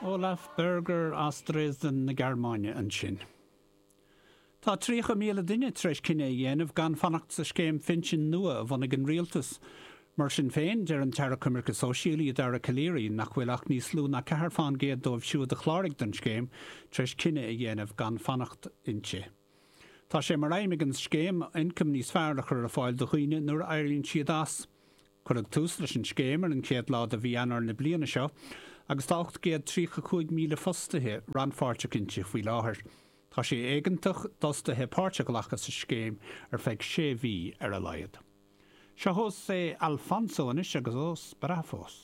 Olaf Berger as Dresden na Gearmáine ansin. Tá 30,000 duine tar éis cinneadh a dhéanamh gan fanacht sa scéim phinsin nua a bhunaigh an rialtas. Mar sin féin, deir an tAire Coimirce Sóisialaí Dara Calleary nach bhfuil ach níos lú ná 4% dóibh siúd a chláraigh don scéim tar éis cinneadh a dhéanamh gan fanacht inti. Tá sé mar aidhm ag an scéim ioncam níos fearr a chur ar fáil do dhaoine nuair a éiríonn siad as. Cuireadh tús leis an scéim ar an chéad lá de mhí Eanáir na bliana seo agus tá 835,000 fostaithe rannpháirteach inti faoi láthair. Tá sé éigeantach d'fhostaithe páirt a ghlacadh sa scéim ar feadh sé mhí ar a laghad. Seo José Alfonso anois agus Os Bravos.